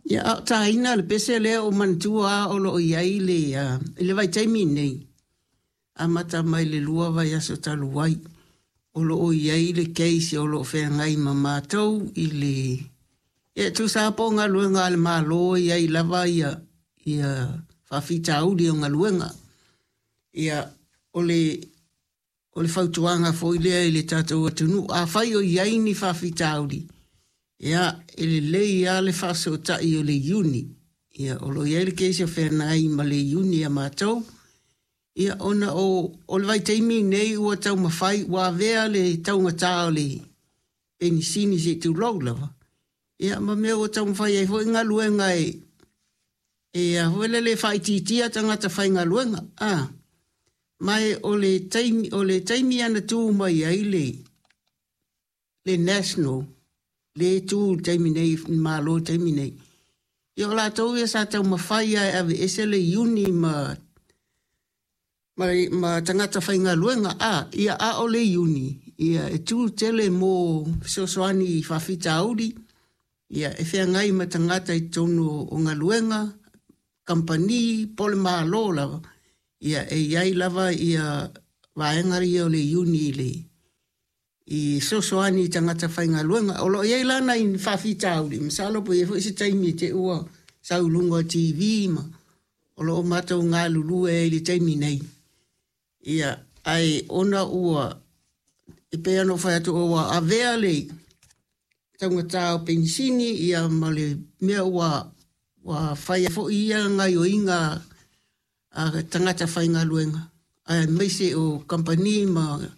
Ia, a o taina le pese lea ua ou manatua lava o lo o i ai le, i le vaitaimi lenei, amata mai le 2 vaiaso talu ai, o lo o i ai le case o lo o feagai ma matou i le, ia, e tusa lava po o galuega a le Malo e i ai lava ia faafitauli o galuega. Ia, o le fautuaga foi lea i le tatou atunuu, afai o i ai ni faafitauli, ia, e lelei lava le faafesootai o le iuni. Ia, o lo o i ai le case o feagai ma le iuni a matou, ia, ona o le vaitaimi lenei ua taumafai, ua avea le taugata o le penisini se i tulou lava, ia, ma mea ua taumafai ai foi galuega e a foi lele e faaitiitia tagata faigaluega. Ma o le taimi lava na tu mai ai le National, lea e tu i le taimi nei, le Malo i le taimi nei, ia o latou ia sa taumafai lava e aveese le iuni ma tagata faigaluega, ia, a o le iuni, ia, e tu tele mo fesoasoani i faafitauli, ia, e feagai ma tagata i totonu o galuega, kamupani po o le Malo lava, ia, e i ai lava ia vaega ia o le iuni i fesoasoani i tagata faigaluega. O lo o i ai la nai faafitauli, masalo po o i ai foi se taimi i te i ua sau i luga o le TV ma o lo o matou galulue ai i le taimi nei. Ia, ae ona ua, e pei ona ou fai atu ua avea le taugata o penisini ia ma le mea ua fai ai foi ia gaoioiga a tagata faigaluega, aemaise o kamupani ma